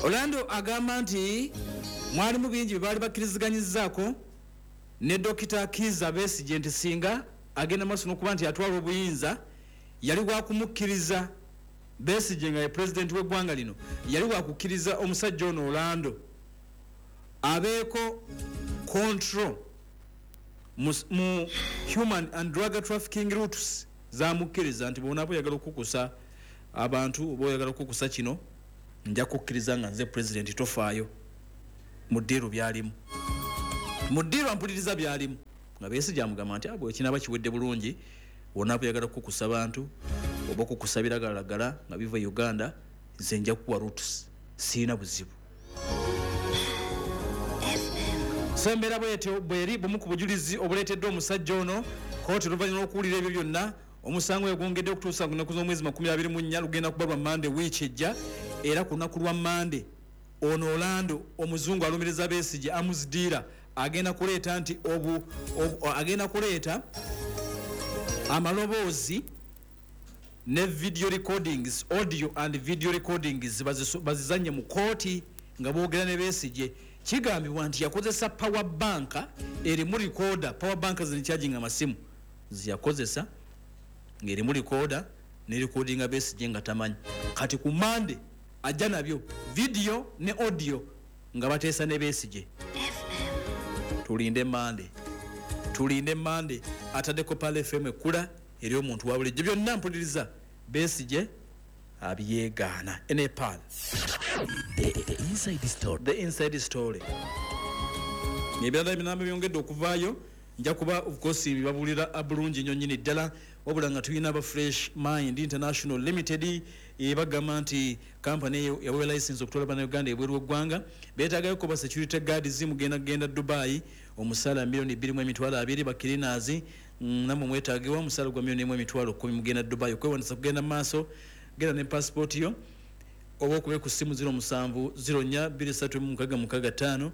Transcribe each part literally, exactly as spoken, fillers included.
Orlando agamba nti mwalimu bingi bye baali bakkiriziganyizzaako ne Dokita Kiiza Besigye, nti singa agenda maaso n'okuba nti atwala obuyinza, yali wakumukkiriza Besigye nga ye pulezidenti w'eggwanga lino, yali wakukkiriza omusajja ono Orlando abeeko control mu, mu human and drug trafficking routes. Zamukkiriza nti bw'onaaba oyagala okukusa abantu oba oyagala okukusa kino, nja kukkiriza nga nze pulezidenti, tofaayo. Mu ddiiru byalimu, mu ddiiru ampuliriza byalimu nga Besigye amugamba nti abo ekinaaba kiwedde bulungi, wonaaba oyagala kukusa bantu oba okukusa biragalalagala nga biva e Uganda, nze nja kukuwa routes, siina buzibu. So embeera bwetyo bweri. Bumu ku bujulizi obuleeteddwa omusajja ono kooti. Oluvannyuma lw'okuwulira ebyo byonna, omusango yagwongedde okutuusa ku nnaku z'omwezi makumi abiri mu nnya. Lugenda kuba lwa Mande wiiki ejja. Era ku lunaku lwa Mande ono Orlando omuzungu alumiriza Besigye, arms dealer, agenda kuleeta nti obu, obu, agenda kuleeta amaloboozi ne video recordings, audio and video recordings, baziso- bazizanye mu kooti nga boogera ne Besigye. Kigambibwa nti yakozesa power bank erimu recorder. Power bank zinicharginga amasimu, ziyakozesa ng'erimu recorder ne recordinga Besigye nga tamanyi. Kati ku Mande ajja nabyo, video ne audio, nga bateesa ne Besigye. Tulinde Mande, tulinde Mande. Ataddeko Pearl F M ekkula eri omuntu wa bulijjo. Byonna mpuliriza Besigye abyegaana. Enepal. The, the Inside Story. The Inside Story. Ebirala ebinamba byongedde okuvaayo, nja kuba of course bibabuulira bulungi nnyo nnyini ddala. Wabula nga tulina aba Fresh Mind International Limited, ebagamba nti kampani eyo yaweebwa license okutwala bannayuganda ebweru w'eggwanga. Beetaagayo ba security guards, mugenda kugenda Dubai, omusaala miliyoni bbiri mu emitwalo abiri. Ba cleaners mm, namwe mwetaagibwa, omusaala gwa miliyoni emu emitwalo kkumi. Mugenda Dubai. Okwewandisa kugenda mu maaso. Genda ne passport yo oba okube ku ssimu zero musanvu zero nnya bbiri ssatu six six five,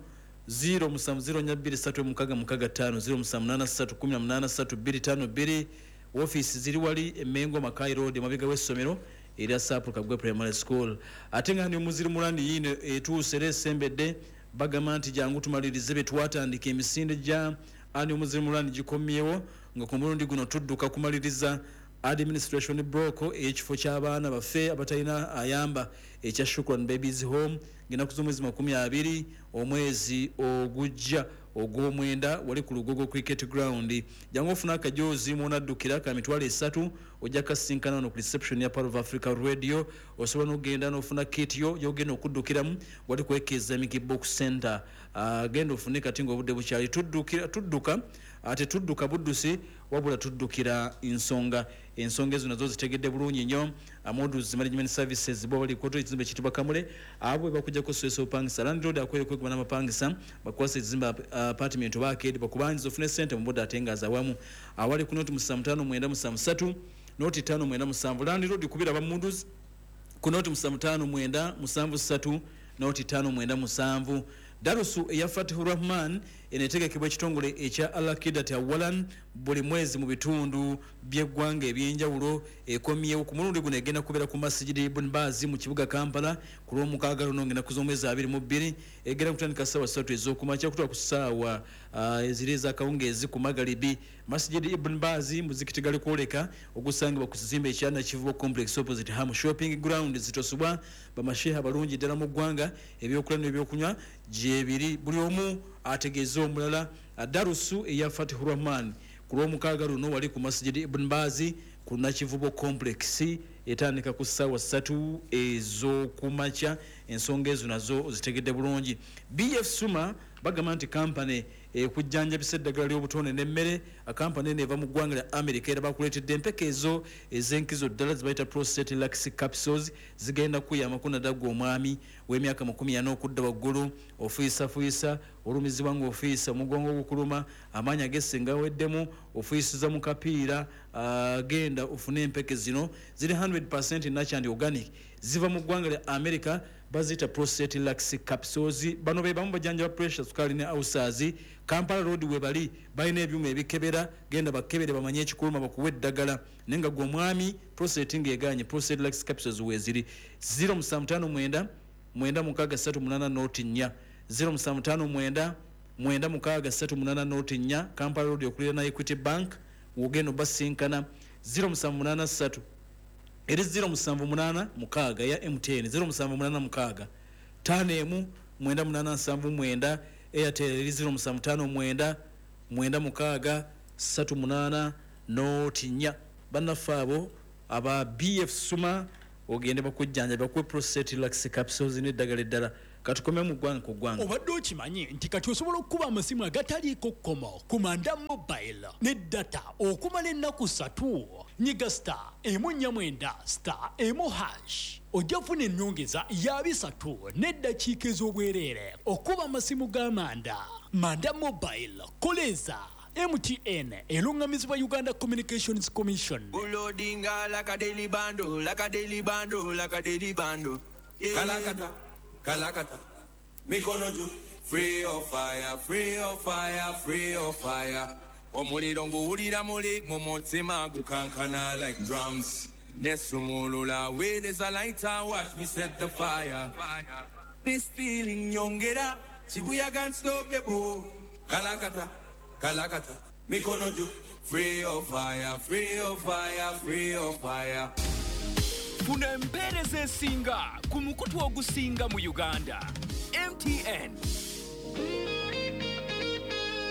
zero musanvu zero nnya bbiri ssatu six six five, zero musanvu munaana ssatu kumi na munaana ssatu bbiri ttaano bbiri. Ofiisi ziri wali Emengo, Makai Road, emabega w'essomero erya Sapul Kagwe Primary School. Ate nga ni Muslim Run yiino etuuse era esembedde. Bagamba nti jangu tumalirize bye twatandika. Emisinde gya ani Muslim Run gikomyewo, nga ku mulundi guno tudduka kumaliriza administration block ey'ekifo ky'abaana baffe abatalina ayamba ekya Shukran Babies Home, ng'ennaku z'omwezi makumi abiri omwezi ogujja ogw'omwenda, wali ku Lugogo Cricket Ground. Jangu ofuna akajoozi mwonaddukira ka mitwalo esatu, ojja kasinkana wano ku reception ya Pearl of Africa Radio. Osobola n'okugenda n'ofuna kit yo gyogenda okuddukiramu wali ku Islamic Book Center. uh, genda ofune kati ng'obudde bukyali. Tuddukira, tudduka, ate tudduka buddusi, wabula tuddukira nsonga. Ensonga ezo nazo zitegedde bulungi nnyo. Modus Management Services bo bali koto ekizimbe ekiyitibwa Kamule, abo bakujjako stress opangisa. Landlord akwere kweguma n'amapangisa, bakwasa ekizimbe, apartment oba arcade, bakubangiza ofune sente mu budde ate nga azawamu. Awali ku noti musanvu ttaano mwenda musanvu ssatu noti ttaano mwenda musanvu. Landlord kubira aba Modus ku noti musanvu ttaano mwenda musanvu ssatu noti ttaano mwenda musanvu. Darusu eya Fatihu Rahman eno etegekebwa ekitongole ekya Alakidat Awalan buli mwezi mu bitundu by'eggwanga ebyenjawulo. Ekomyewo ku mulundi guno, egenda kubeera ku Masijidi Ibn Bazi mu kibuga Kampala ku lwomukaaga luno, ng'ennaku z'omwezi abiri mu bbiri. Egenda kutandika ssaawa ssatu ez'okumakya kutuuka ku ssaawa ah, eziri ez'akawungeezi ku magalibi. Masijidi Ibn Bazi, muzikiti gali kwoleka ogusangibwa ku kizimbe ekya Nakivubo Complex, opposite Ham Shopping Ground. Zitosubwa bamasheha abalungi ddala mu ggwanga. Ebyokulya n'ebyokunywa gyebiri, buli omu ategeeza omulala. Darusu eya Fatihu Rahman ku lwomukaaga luno wali ku Masijidi Ibn Bazi ku Nakivubo Complex, etandika ku ssaawa ssatu ez'okumakya. Ensonga ezo nazo zitegedde bulungi. B F Suma bagamba nti kampany ekujjanjabisa eddagala ly'obutonde n'emmere. Kampany eno eva mu ggwanga lya America, era bakuleetedde empeka ezo ez'enkizo ddala zibayita Prostate Relax Capsules. Zigenda kuyambako naddala gwe omwami w'emyaka makumi ana okudda waggulu, ofuyisafuuyisa, olumizibwa ng'ofuuyisa, omugongo gukuluma, amaanyi agesse nga weddemu, ofuuyisiza mu kapiira, ah, genda ofune empeke zino. Ziri kikumi natural and organic, ziva mu ggwanga lya America, baziyita Prostate Relax Capsules. Bano be bamu bajanjaba pressure, sukaali ne ulcers. Kampala Road we bali, balina ebyuma ebikebera. Genda bakebere bamanye ekikuluma, bakuwa eddagala. Naye nga gwe omwami prostate ng'eganye, Prostate Relax Capsules weeziri. zero musanvu ttaano mwenda mwenda mukaaga ssatu munaana noti nnya zero musanvu ttaano mwenda mwenda mukaaga ssatu munaana noti nnya Kampala Road okuliraana Equity Bank wogenda obasinkana zero musanvu munaana ssatu eri zero musanvu munaana mukaaga ya M T N zero musanvu munaana mukaaga ttaano emu mwenda munaana nsanvu mwenda Airtel eri zero musanvu ttaano mwenda mwenda mukaaga ssatu munaana noti nnya. Bannaffe abo aba B F Suma ogende bakujjanja bakuwe prostate relax capsules n'eddagala eddala. Katukome mu ggwanga ku ggwanga. Obadde okimanyi nti kati osobola okukuba amasimu agataliiko kkomo ku Manda Mobile ne data okumala ennaku ssatu. Nyiga star emu nnya mwenda star emu hash ojja kufuna ennyongeza ya bisatu n'eddakiika ez'obwereere okuba amasimu ga Manda. Manda Mobile koleza M T N erungamizibwa Uganda Communications Commission. Ulodinga like a daily bando, like a daily bando, like a daily bando. Kalakata, kalakata. Mikono juu. Free of fire, free of fire, free of fire. Omuliro nguwulira muli mu mutima gukankana like drums. Nesumulula with is a lighter, watch me set the fire. This feeling nyongera, chibuya can't stop the boo. Kalakata. Kalakata, mikono juu. Free of fire, free of fire, free of fire. Funa empeereza esinga ku mukutu ogusinga mu Uganda. M T N.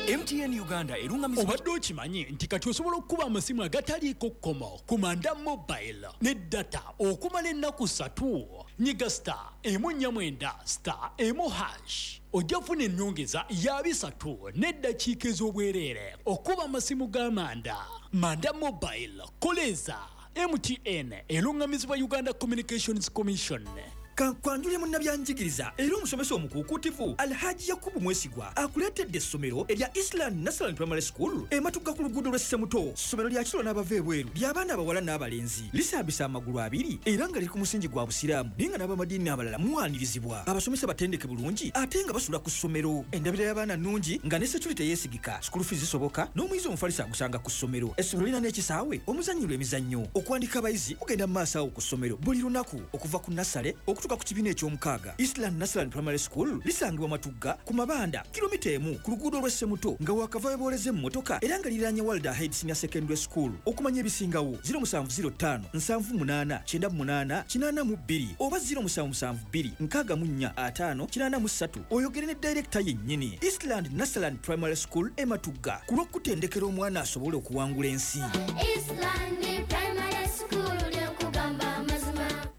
M T N Uganda erungamizibwa. Obadde okimanyi nti kati osobola okukuba amasimu agataliiko kkomo ku Manda Mobile ne data okumala ennaku ssatu. Nyiga star emu nnya mwenda star emu hash ojja kufuna ennyongeza ya bisatu n'eddakiika ez'obwereere okuba amasimu ga Manda. Manda Mobile koleza M T N erungamizibwa Uganda Communications Commission. Kankwanjule munnabyanjigiriza era omusomesa omukuukuutivu Alhaji Yakubu Mwesigwa akuleetedde essomero erya Island National Primary School ematuga ku luguudo lw'e Ssemuto. Ssomero lya kiro n'abava ebweru ly'abaana abawala n'abalenzi, lisaabisa amagulu abiri era nga liri ku musingi gwa Busiraamu, naye nga n'abamadiini abalala muwanirizibwa. Abasomesa batendeke bulungi ate nga basula ku ssomero. Endabira y'abaana nnungi nga ne security yeesigika, school fees zisoboka n'omuyizi omufalisi agusanga ku ssomero. Essomero lirina n'ekisaawe omuzannyirwa emizannyo. Okuwandika abayizi kugenda mu maaso awo ku ssomero buli lunaku okuva ku nasale okutuuka ku kibiina eky'omukaaga. Island National Primary School lisangibwa Matugga ku Mabanda kilomita emu ku luguudo lw'e Ssemuto nga wakava webooleza emmotoka era nga liriraanye Walda Head Senior Secondary School. Okumanya ebisingawo zero musanvu zero ttaano nsanvu munaana kyenda munaana kinaana mu bbiri oba zero musanvu musanvu bbiri nkaaga mu nnya ataano kinaana mu ssatu oyogere ne director yennyini. Island National Primary School e Matugga ku lw'okutendekera omwana asobole okuwangula ensi. Island Primary School lyokugamba amazima.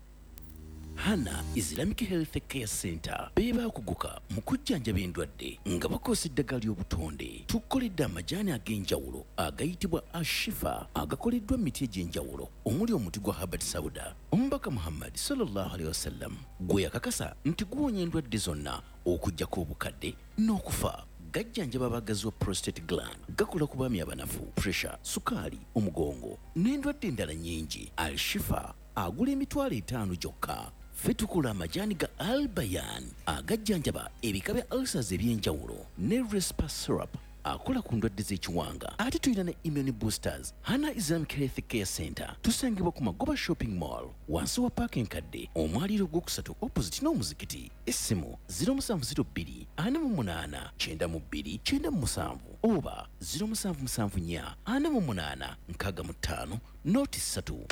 Hana Islamic Health Care Center bebakuguka mu kujjanjaba endwadde nga bakozesa eddagala ly'obutonde. Tukoledde amajaani ag'enjawulo agayitibwa Ashifa agakoleddwa mu miti egy'enjawulo omuli omuti gwa Habbat Sauda. Omubaka Muhammad sallallahu alaihi wasallam gwe yakakasa nti guwonya endwadde zonna okuggyako obukadde n'okufa. Gajjanjaba abagazi wa prostate gland, gakola ku baami abanafu, pressure, sukaali, omugongo n'endwadde endala nnyingi. Al-Shifa agula emitwalo etaano gyokka. Ffe tukola amajaani ga Albayan agajjanjaba ebika bya ulcers eby'enjawulo ne Respa syrup akola ku ndwadde z'ekiwanga. Ate tulina ne immune boosters. Hana Islamic Health Care Center tusangibwa ku Magoba Shopping Mall wansi wa paaka enkadde omwaliiro ogwokusatu opposite n'omuzikiti. Essimu zero musanvu zero bbiri ana mu munaana kyenda mu bbiri kyenda mu musanvu oba zero musanvu musanvu nnya ana mu munaana nkaaga mu ttaano noti ssatu.